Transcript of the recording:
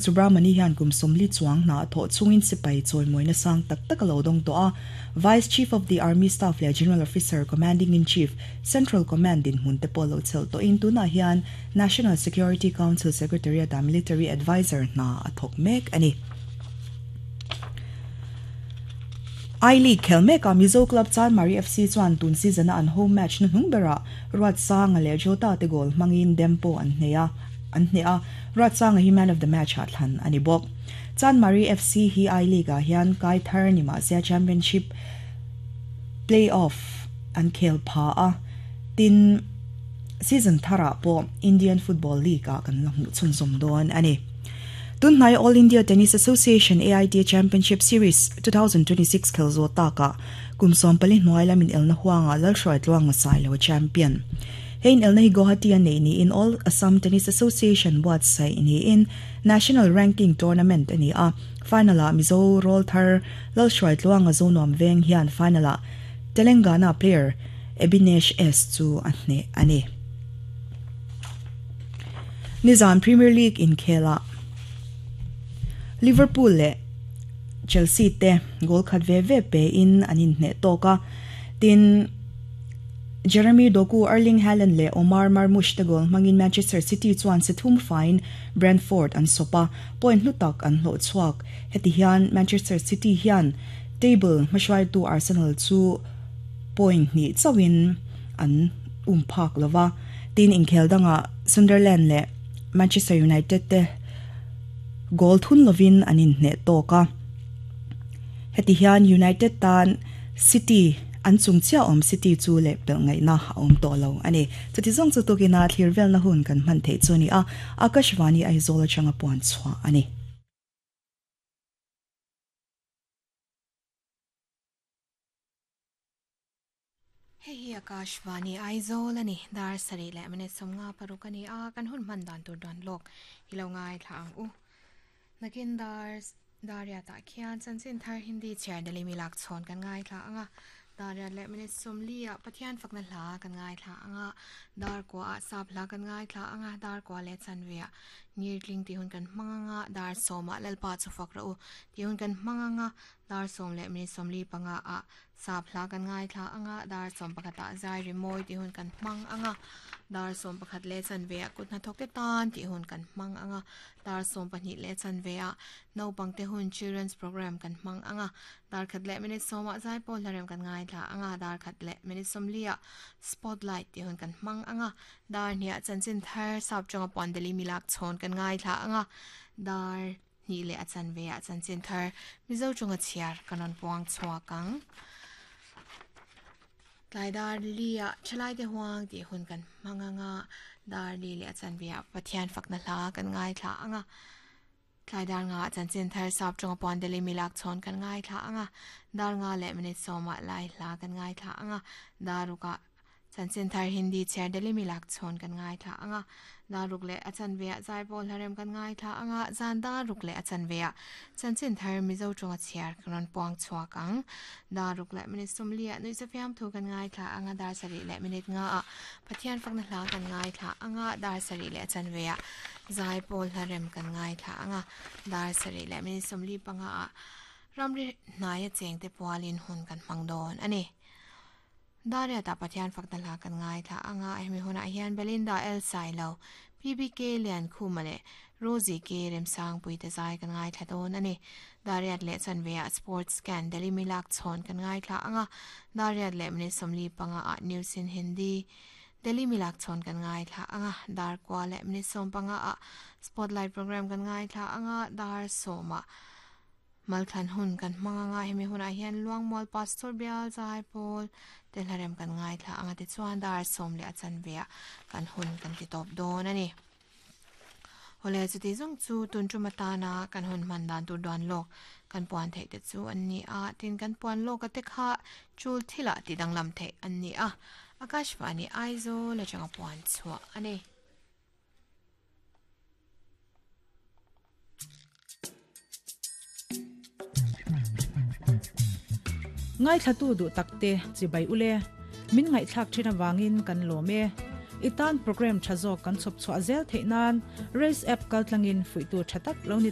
Subramani hian kum 40 chuang hna a thawh chungin sipai chawimawina sang tak tak a lo dawng tawh a. Vice Chief of the Army Staff leh General Officer Commanding-in-Chief, Central Command dinhmun te pawh lo chelh tawhin tunah hian National Security Council Secretariat-ah Military Adviser hna a thawk mek a ni. I-League khel mekah Mizo club Chanmari FC chuan tun season-a an home match hnuhnung berah Ruatsanga leh Jota te goal hmangin Dempo an hneh a. an hneh a, Ruatsanga hi man of the match ah thlan a ni bawk. Chanmari FC hi I-League ah hian kai thar ni mahse Championship play-off an khel pha a, tin season tharah pawh Indian Football League ah kan la hmuh chhunzawm dawn a ni. Tunhnai All India Tennis Association, AITA, Championship Series 2026 khel zawh takah kum 14 hnuai lam inelna huangah Lalhruaitluanga Sailo a champion. Hei inelna hi Guwahati a neih niin All Assam Tennis Association buatsaih niin National Ranking Tournament a ni a. Final-ah Mizo rawlthar Lalhruaitluanga Zonuam Veng hian final-ah Telangana player Ebinesh S chu a hneh a ni. Nizan Premier League inkhelah Liverpool leh Chelsea te goal khat ve ve pein an inhneh tawk a, tin, Jeremy Doku, Erling Haaland leh Omar Marmoush te goal hmangin Manchester City chuan si thum faiin Brentford an sawp a, point hlu tak an hlawh chhuak. Heti hian Manchester City hian table hmahruaitu Arsenal chu point hnih chauhin an um phak lo va, tin inkhel dangah Sunderland leh Manchester United te goal thun lovin an inhneh tawk a. Heti hian United tan City, an chung chiah awm City chu leh pelh ngaihna a awm tawh lo a ni. Chuti zawng chu tukina thlir velna hun kan hman theih chu a ni a, Akashvani Aizawl atanga puan chhuah a ni. Hei hi Akashvani Aizawl a ni. Dar sarih leh minute 56 a ni a, kan hun hman dan tur dawn lawk hi lo ngaithla ang u. Nakin dar Dariatah khian chanchin thar Hindi chhiar Delhi mi lak chhawn kan ngaithla ang a, Dariat leh minute 40 ah Pathian fakna hla kan ngaithla ang a, Dar kua ah sap hla kan ngaithla ang a, Dar kua leh chanve ah Ngirtling tih hun kan hmang ang a, Dar sawm ah Lalpa chu fak rawh u tih hun kan hmang ang a, Dar sawm leh minute 45 ah Sap hla kan ngaithla ang a, dar 11 ah zai ri mawi tih hun kan hmang ang a, dar 11 leh chanve ah kut hnathawk te tan tih hun kan hmang ang a, dar 12 leh chanve ah naupang te hun children's program kan hmang ang a, dar khat leh minute 10 ah zai pawl hlarem kan ngaithla ang a, dar khat leh minute 40 ah spotlight tih hun kan hmang ang a, dar hnih ah chanchin thar sap tawng a puan deli milak chhawn kan ngaithla ang a, dar. Hnih leh a chanve ah chanchin thar Mizo chunga chhiar kan rawn puang chhuak ang. Tlai dar li ah thalai te huang tih hun kan hmang ang a, dar li leh a chanve ah Pathian fakna hla kan ngaithla ang a. Tlai dar nga ah chanchin thar sap chunga puan Delhi milak chhawn kan ngaithla ang a, dar nga leh minute 10 ah lai hla kan ngaithla ang a, dar ruk ah Chanchin thar Hindi chhiar Delhi milak chhawn kan ngaithla ang a, dar ruk leh a chanve ah zaipawl hlarem kan ngaithla ang a, zan dar ruk leh a chanve ah chanchin thar Mizo tawnga chhiar kan rawn puang chhuak ang. Dar ruk leh minute 40 ah nuihza fiamthu kan ngaithla ang a, dar sarih leh minute 5 ah Pathian fakna hla kan ngaithla ang a, dar sarih leh a chanve ah zaipawl hlarem kan ngaithla ang a, dar sarih leh minute 45 ah ramri hnaia chengte pualin hun kan hmang dawn a ni. Dariatah Pathian fakna hla kan ngaithla ang a, hemi hunah hian Belinda L Sailo, PBK Liankhuma leh Rosie K Remsangpui te zai kan ngaithla dawn a ni. Dariat leh chanveah Sports Scan Delhi Milak chhawn kan ngaithla ang a, Dariat leh minute 45 ah News in Hindi Delhi Milak chhawn kan ngaithla ang a, Dar kua leh minute 15 ah Spotlight Program kan ngaithla ang a, Dar 10 ah Malthlan hun kan hmang anga hemi hunah hian Luangmual Pastor Bial Zai Pawl te hlarem kan ngaithla anga tichuan dar 10 leh a chanve ah kan hun kan ti tawp dawn a ni. Hawle chuti zawng chu tun tum atana kan hun hman dan tur duan lawk kan puan theih te chu an ni a, tin kan puan lawk a te kha chul thilah ti danglam theih an ni a, Akashvani Aizawl atanga puan chhuah a ni. Ngaithlatu duh takte chibai ule, min ngaihthlak thin avangin kan lawm e. I tan program tha zawk kan chhawp chhuah zel theih nan Race App kaltlangin fuihtu tha tak lo ni ta.